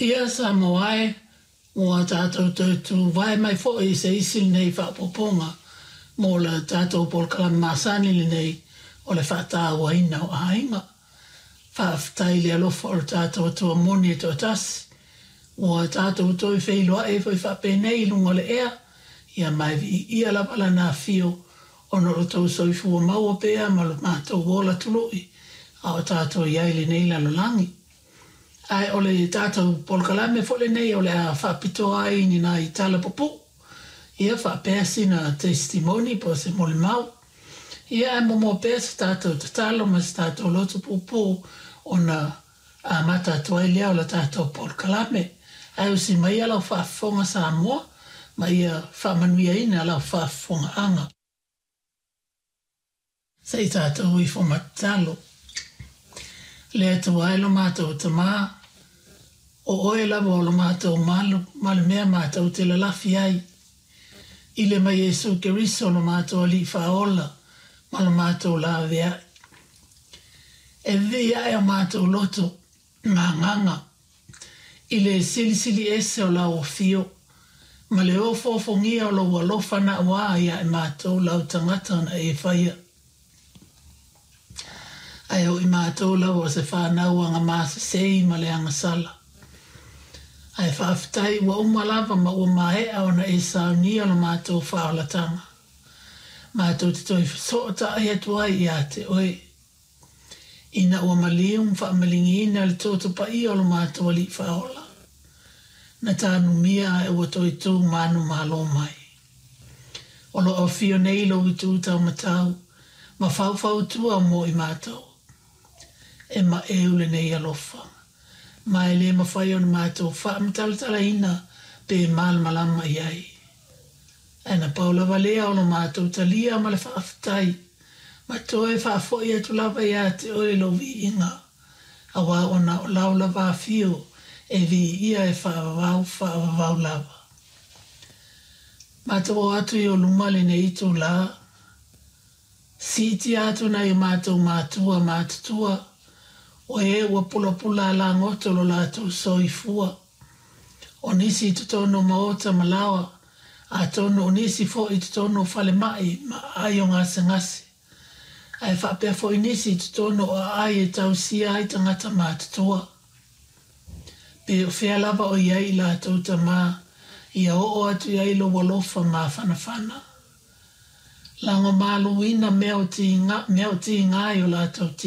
Ia Samoa e, ua tatou toe tuvae mai foi i se isi lenei faaopoopoga mo le tatou polokalame masani lenei o le faatauaina o aiga. Faafetai i le alofa o le tatou Atua moni e toatasi, ua tatou toe feiloai ai foi faapenei i luga o le ea, ia ma e viia lava Lana afio ona o lo outou soifua maua pea ma lo matou ola tului a o tatou i ai i lenei lalolagi. Ae o le tatou polokalame foi lenei o le a faapitoa ai ni nai tala pupuu, ia faapea sina testimoni po o se molimau. Ia ae muamua pea se tatou tatalo ma se tatou loto puupuu ona amata atu ai lea o le tatou polokalame. Ae usi maia lau faafofoga Samoa ma ia faamanuiaina lau faafofogaaga. Se i tatou ifo ma tatalo. Le Atua e lo matou Tama, o Oe lava o lo matou malu ma le mea matou te lalafi ai. I le ma Iesu Keriso lo matou Alii Faaola ma lo matou laveai. E vivii ae o matou loto ma agaga i le silisili ese o lau afio ma le ofoofogia o lou alofa naauā ia i matou lau tagata na e faia. Ae o i matou lava o se fanau agamasesei ma le agasala. Ae faafetai ua uma lava ma ua maea ona e saunia lo matou faaolataga. Matou te toe fesootai atu ai ia te oe. Ina ua maliu ma faamaligiina le toto paia o lo matou Alii Faaola, na tanumia ae ua toe tu manumalo mai. O lo o afio nei lou itu taumatau ma faufautua mo i matou. E maeu lenei alofa, ma e le mafai ona matou faamatalatalaina pe malamalama i ai. Ae na pau lava lea o lo matou talia ma le faafetai, ma toe faafoi atu lava ia te oe lou viiga, auā ona o lau lava afio e viia e faavavau faavavau lava. Matou o atu i ou luma lenei itulā, siitia atu nai o matou matua matutua, o e ua pulapula alagoto lo latou soifua. O nisi i totonu o maota ma laoa, atonu o nisi foi i totonu o falemai ma aai o gasegase, ae faapea foi nisi i totonu o aai e tausia ai tagata matutua. Pe o fea lava o i ai i latou tama, ia oo atu i ai lou alofa mafanafana. Lagomaluina mea o tiga i o latou.